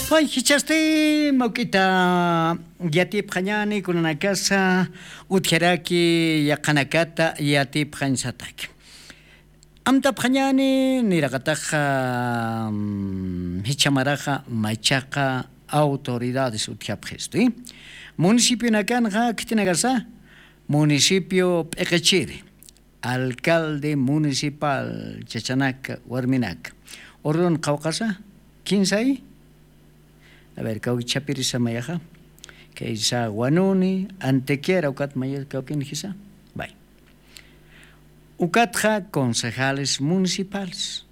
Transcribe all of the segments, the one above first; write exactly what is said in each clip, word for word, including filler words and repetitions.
Pay jichhasti mawk'ita yatipxañani kunanakasa utjaraki yaqhanakata yatipxañsataki. Amtapxañani niraqataxa jichhamaraxa machaqa autoridades utjapxisti. Municipionakanxa khitinakasa municipio p'iqichiri, alcalde municipal, chachanaka warminaka, ururun qhawqasa kinsay. A ver kawkichhapirisa mayaxa, kaysa wanuni antequera ukat mayar kawkinjisa. Bay. Ukatxa concejales municipales,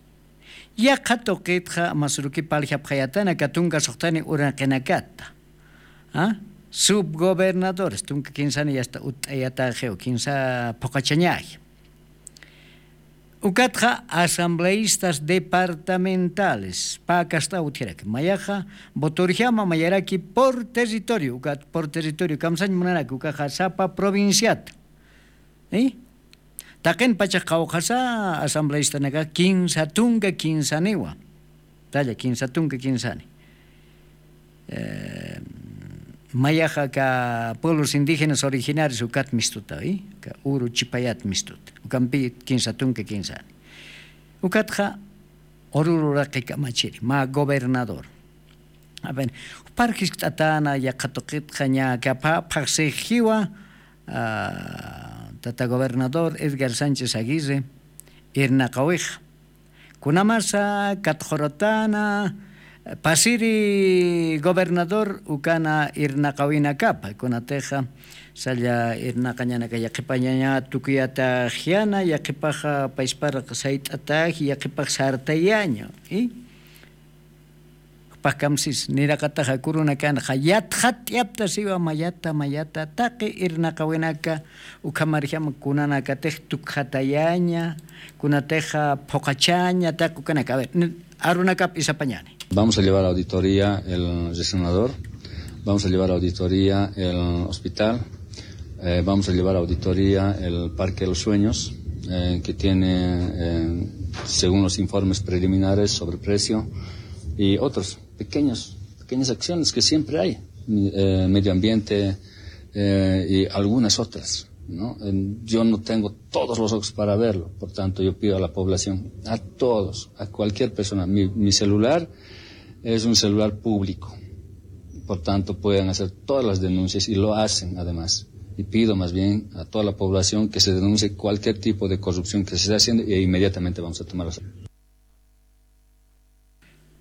yaqha tuqitxa masuruki paljapxayatana katunka suxtani uraqinakata. Subgobernadores tunka kinsani yasta utt'ayataxiw kinsa phuqachañaji. Ukatxa asambleistas departamentales pakasta utjiraki mayaxa votorjama mayaraki por territorio ukat por territorio kamsañ munaraki ukaxa sapa provinciata. Taqin pachax qhawqasa asambleistanaka kinsa tunka kinsaniwa. Talla kinsa tunka kinsani. Mayaxa ka pueblos indígenas originarios ukat mistuta ka uru chipayat mistuta ukampi kinsa tunka kinsani. Ukatxa urururaqi kamachiri mä gobernador. Jupar jiskt'atana yaqha tuqitxa ña kapha phaqsix jiwa tata gobernador edgar sánchez aguirre, irnaqawixa kunamasa katxuratana pasiri gobernador ukana irnaqawinakapa kunatixa salla irnaqañanaka yaqhipañaña tukuyataxyana yaqhipaxa paysparaq sayt'ataji yaqhipax sartayaña. Jupax kamsis niraqataxa kurunakanxa yatxat'yaptasiwa mayata mayata taqi irnaqawinaka ukhamarjama kunanakatix tukxatayaña kunatixa phuqachaña taqi ukanaka a ver arunakap isapañani. Vamos a llevar a auditoría el resonador, vamos a llevar a auditoría el hospital, vamos a llevar a auditoría el parque de los sueños, que tiene según los informes preliminares sobre precio y otros pequeños pequeñas acciones que siempre hay, medio ambiente y algunas otras. Yo no tengo todos los ojos para verlo, por tanto yo pido a la población, a todos, a cualquier persona, mi celular es un celular público, por tanto pueden hacer todas las denuncias y lo hacen además. Y pido más bien a toda la población que se denuncie cualquier tipo de corrupción que se está haciendo y inmediatamente vamos a tomar las.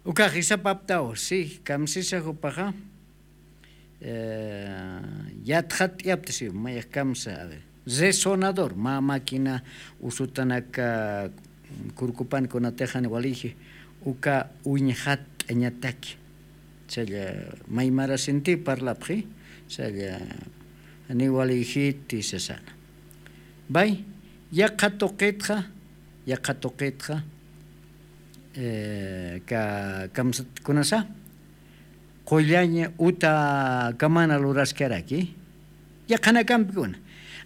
Ukax isapaptaw si kamsisa jupaxa yatxat'yapta si mayax kamsa a ver resonador mä máquina usutanaka kurkupan kunatixan waliji uka uñxat'añataki. Challa maymarasinti parlapxi challa janiw walijiti sasana. Bay yaqha tuqitxa yaqha tuqitxa kamsat kunasa qullañ uta kamana luraskaraki. Yaqhanakampikuna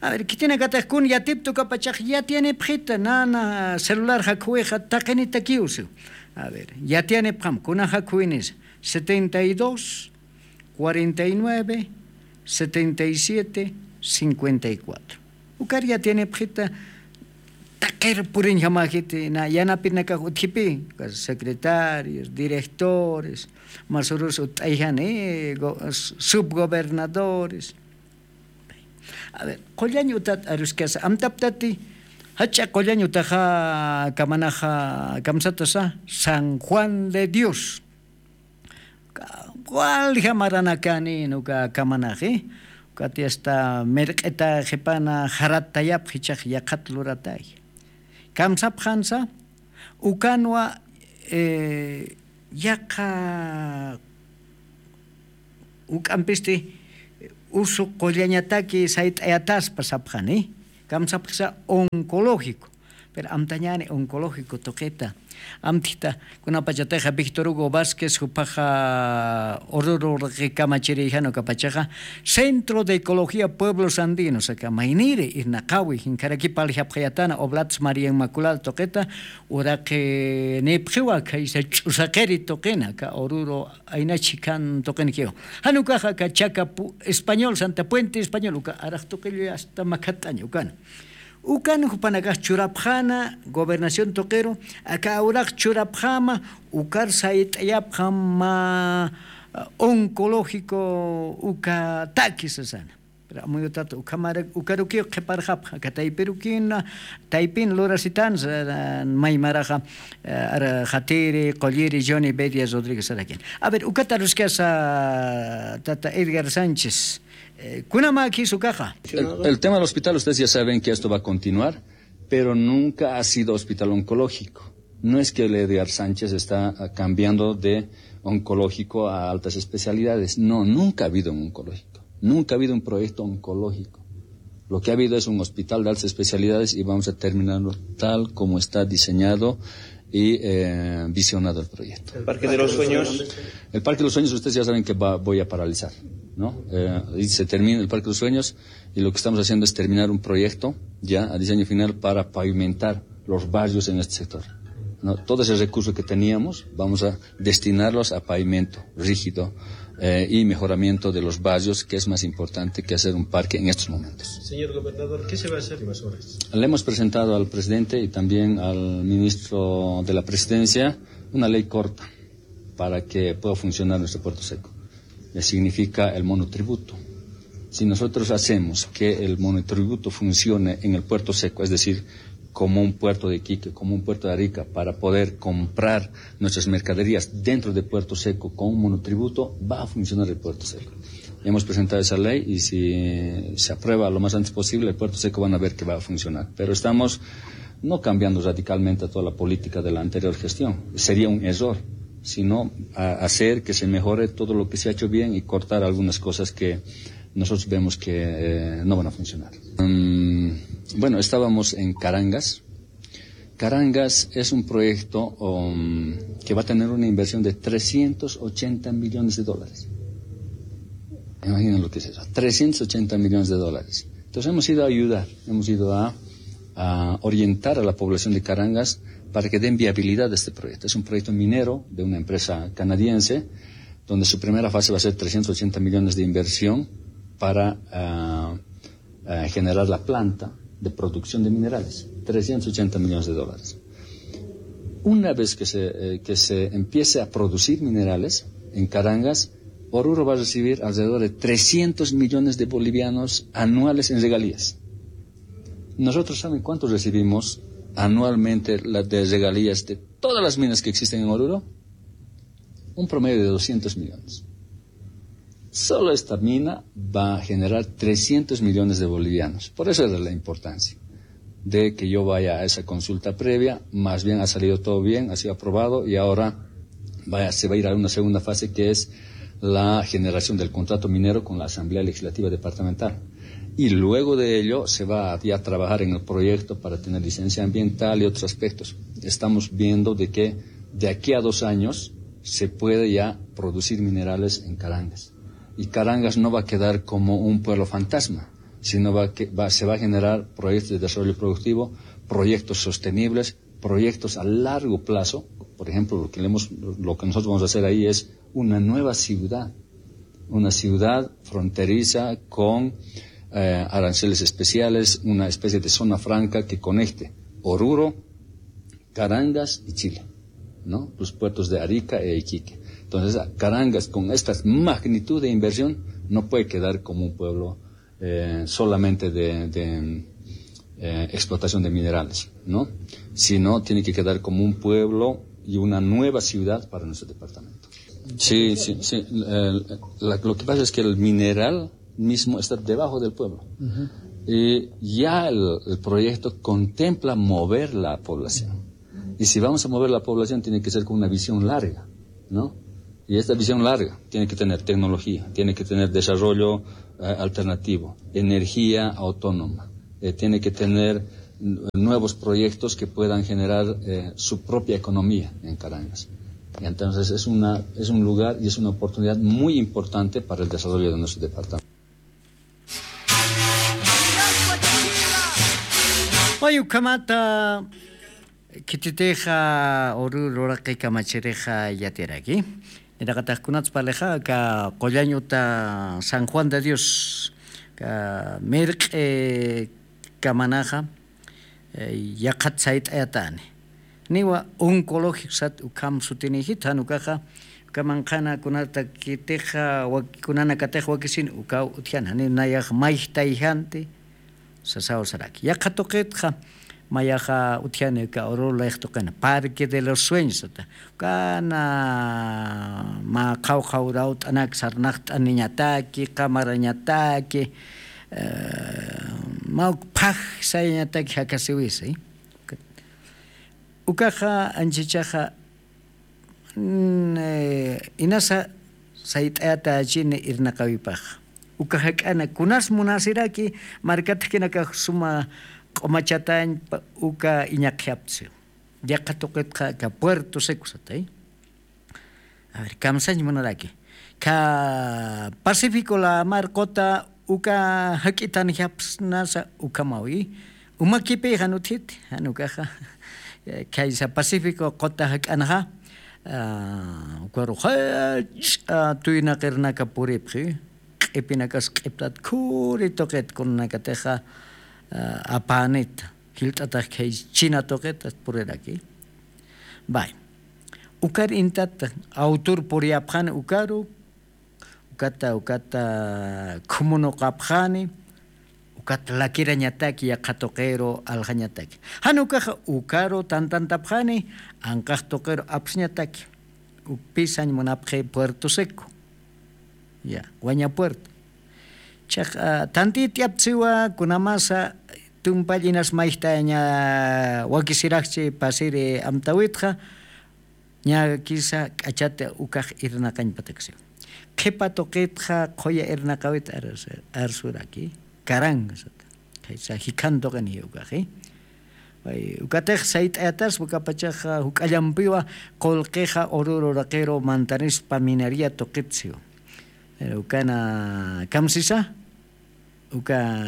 a ver khitinakatax kun yatipta ukapachax yatiyanipxita nana celular jakhuwixa taqinitakiw siw. A ver yatiyanipxam kuna jakhuwinisa setenta y dos cuarenta y nueve setenta y siete cincuenta y cuatro. Ukar yatiyanipxita taqir puriñjamajiti na yanapinakax utjipi secretarios directores masurus utt'ayjani subgobernadores. A ver qullañ utat aruskasa amtaptati jach'a qullañ utaxa kamanaxa kamsatasa san juan de dios. Walja maranakani nuka kamanaxi ukati asta mirq'ita qhipana jaratayapx jichax yaqhat luratay. Kamsapxansa ukanwa yaqha uk'ampisti usu qullañataki sayt'ayataspa sapxani. Kamsapxisa oncológico Pero amtañäni oncológico tuqita. Amtita, kunapachatixa Víctor Hugo Vázquez, jupaxa Oruro urqi kamachiri jan ukapachaxa Centro de Ecología Pueblos Andinos, aka mayniri irnaqawi, jinkaraki parlxapxayatana Oblatas María Inmaculada tuqita, uraqi nipxiwa khaysa ch'usaqiri tuqina, aka Oruro ayna chhikan tuqinikiwa. Jan ukaxa aka Chaka Pu-, Español, Santa Puente Español, uka araq tuqillu hasta makhat'aña ukana. Ukan jupanakax churapxäna gobernación tuqiru, aka uraq churapxäma, ukar sayt'ayapxam mä, eh, oncológico uka taki sasana. Pero amuyutat ukhamara, ukarukiw qhiparxapxa, aka taypirukina, taypin lurasitan, eh, may maraxa, eh, ara Jatiri, Qulliri, Johnny Bedia Rodríguez arakin. A ver, ukat aruskasa tata Edgar Sánchez. Eh, kunamaki sukaxa. El, el tema del hospital, ustedes ya saben que esto va a continuar, pero nunca ha sido hospital oncológico. No es que el Edgar Sánchez está, ah, cambiando de oncológico a altas especialidades. No, nunca ha habido un oncológico. Nunca ha habido un proyecto oncológico. Lo que ha habido es un hospital de altas especialidades y vamos a terminarlo tal como está diseñado y, eh, visionado el proyecto. ¿El Parque de los Sueños? El Parque de los Sueños, ustedes ya saben que va, voy a paralizar, ¿no? Eh, y se termina el Parque de los Sueños y lo que estamos haciendo es terminar un proyecto ya a diseño final para pavimentar los barrios en este sector, ¿no? Todo ese recurso que teníamos, vamos a destinarlos a pavimento rígido, eh, y mejoramiento de los barrios, que es más importante que hacer un parque en estos momentos. Señor gobernador, ¿qué se va a hacer más horas? Le hemos presentado al presidente y también al ministro de la Presidencia una ley corta para que pueda funcionar nuestro puerto seco. Eh, significa el monotributo. Si nosotros hacemos que el monotributo funcione en el puerto seco, es decir, como un puerto de Iquique, como un puerto de Arica, para poder comprar nuestras mercaderías dentro de Puerto Seco con un monotributo, va a funcionar el Puerto Seco. Hemos presentado esa ley y si se aprueba lo más antes posible, el Puerto Seco van a ver que va a funcionar. Pero estamos no cambiando radicalmente toda la política de la anterior gestión. Sería un error, sino a-, hacer que se mejore todo lo que se ha hecho bien y cortar algunas cosas que nosotros vemos que, eh, no van a funcionar. Mm, bueno, estábamos en Carangas. Carangas es un proyecto, um, que va a tener una inversión de trescientos ochenta millones de dólares. Imaginen lo que es eso, trescientos ochenta millones de dólares. Entonces hemos ido a ayudar, hemos ido a, a orientar a la población de Carangas para que den viabilidad a este proyecto. Es un proyecto minero de una empresa canadiense, donde su primera fase va a ser trescientos ochenta millones de inversión para, ah, eh, generar la planta de producción de minerales, trescientos ochenta millones de dólares. Una vez que se, eh, que se empiece a producir minerales en Carangas, Oruro va a recibir alrededor de trescientos millones de bolivianos anuales en regalías. ¿Nosotros saben cuánto recibimos anualmente la, de regalías de todas las minas que existen en Oruro? Un promedio de doscientos millones. Solo esta mina va a generar trescientos millones de bolivianos. Por eso era la importancia de que yo vaya a esa consulta previa. Más bien ha salido todo bien, ha sido aprobado y ahora vaya, se va a ir a una segunda fase, que es la generación del contrato minero con la Asamblea Legislativa Departamental. Y luego de ello se va a ya trabajar en el proyecto para tener licencia ambiental y otros aspectos. Estamos viendo de que de aquí a dos años se puede ya producir minerales en Carangas. Y Carangas no va a quedar como un pueblo fantasma, sino va que, va, se va a generar proyectos de desarrollo productivo, proyectos sostenibles, proyectos a largo plazo. Por ejemplo, lo que le hemos, lo que nosotros vamos a hacer ahí es una nueva ciudad, una ciudad fronteriza con, eh, aranceles especiales, una especie de zona franca que conecte Oruro, Carangas y Chile, ¿no? Los puertos de Arica e Iquique. Entonces, Carangas, con esta magnitud de inversión, no puede quedar como un pueblo, eh, solamente de, de, eh, explotación de minerales, ¿no? Sino tiene que quedar como un pueblo y una nueva ciudad para nuestro departamento. Sí, sí, sí. El, la, lo que pasa es que el mineral mismo está debajo del pueblo. Y ya el, el proyecto contempla mover la población. Y si vamos a mover la población, tiene que ser con una visión larga, ¿no? Y esta visión larga tiene que tener tecnología, tiene que tener desarrollo, eh, alternativo, energía autónoma, eh, tiene que tener nuevos proyectos que puedan generar eh, su propia economía en Carangas. Y entonces es, una, es un lugar y es una oportunidad muy importante para el desarrollo de nuestro departamento. Wayukhamata khititixa uru ruraqi kamachirixa yatiraki. Niraqatax kunatsa parlixa ka qullañuta San Juan de Dios ka mirq'i kamanaxa yaqhat sayt'ayatani. Niwa oncológico sat ukham sutinixit jan ukaxa ukaman qhana kunatakitixa kunanakatix wakisin ukaw utjana niw nayax mayjtayjanti. Sasaw saraki yaqha tuqitxa mayaxa utjani uka urulix tuqina parque de los sueños sata. Ukana mä qhawqhaw rawt'anak sarnaqt'aniñataki qamarañataki mä uk phaj sayañataki jakasiwisa. Ukaxa anchichaxa inasa sayt'ayatachini irnaqawipaxa. Uka jak'ana kunas munasiraki markatjakinakax suma q'umachatañpa uka iñaqjaptsiw. Yaqha tuqitxa aka puerto seco satay. A ver kamsañ munaraki kha pacífico lamar quta uka jak'itanjapsnasa ukhamawi. Umakipi jan utjiti jan ukaxa khaysa pacífico quta jak'anxa ukaru jach'a tuynaqirnaka puripxi. Q'ipinakas q'iptat khuri tuqit kunanakatixa apänita jilt'atax khay china tuqit puriraki. Bay ukar intat awtur puriyapxani ukaru ukata ukata khumunuqapxani. Ukat lakirañataki yaqha tuqiru aljañataki jan ukaxa ukaru tantantapxani. Anqax tuqiru apsiñataki ukpi sañ munapxi puerto seco. Ya waña puerto chaq tantit'yaptsiwa kunamasa tumpall inas mayjtaña wakisiraxchi pasiri amtawitxa. Ñakisa k'achata ukax irnaqañpataksiwa qhipa tuqitxa qhuya irnaqawit arsuraki. Karanga sata khaysa jikhan tuqiniy ukaxi. Ukatix sayt'ayataspa ukapachaxa juk'allampiwa qulqixa ururu raqiru mantanispa minería tuqit siwa. Pero ukana kamsisa uka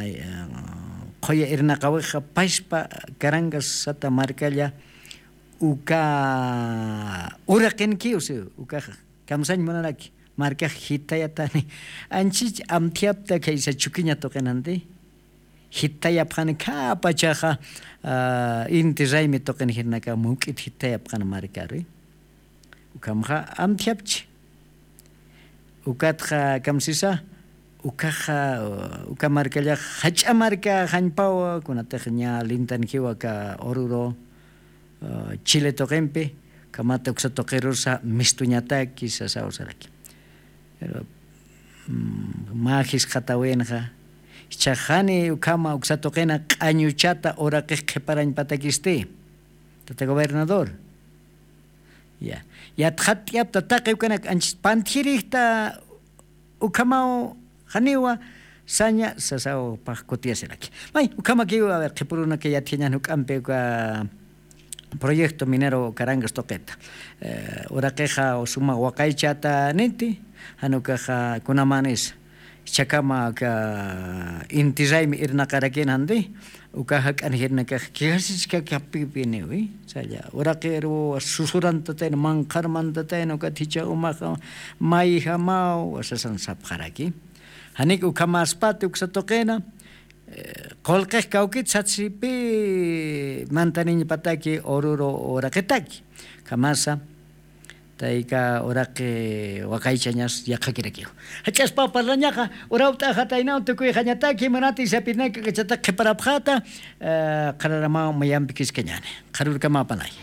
qhuya irnaqawixa paspa karangasata markalla uka uraqinkiw siwa ukaxa. Kamsañ munaraki markax jitayatani anchich amthiyapta khaysa chukiña tuqinanti. Jitayapxani khapachaxa inti raymi tuqin jirnaka muk'it jitayapxani markari. Ukhamxa amthiyapchi ukatxa kamsisa ukaxa uka markallax jach'a marka jañpawa kunatix ña lintankiwa aka ururu chile tuqimpi. Ukhamata uksa tuqirusa mistuñataki sasaw saraki. Pero mä jisqatawinxa jichhax jani ukhama uksa tuqina q'añuchata uraqix qhiparañpatakisti. Tata gobernador ya yatxatt'yapta taqi ukanak anchis pantjirixta ukhamaw janiwa saña sasaw pax kutiyasiraki. May ukhamakiw a ver qhipurunaka yatjañan juk'ampi uka proyecto minero karangas tuqita uraqixa suma waqaychata niti. Jan ukaxa kunamanisa jichhakama aka inti raymi irnaqarakin jandi uka jak'an jirnakax kijasichkakapipiniwi. Saya uraqiru susurantatayna manqharmantatayna ukat jichha umaxa mayjamaw sasan sapxaraki. Janik ukhamaspati uksa tuqina qulqix kawkit satsipi mantaniñpataki ururu uraqitaki. Ukhamasa tayka uraqi waqaychañas yaqhakirakiw. Jach'aspaw parlañaxa urawt'axataynaw tukuyxañataki munati sapirnaka k'achata qhiparapxata. Qhararamaw mayampi kiskañani qharurkamaw panay.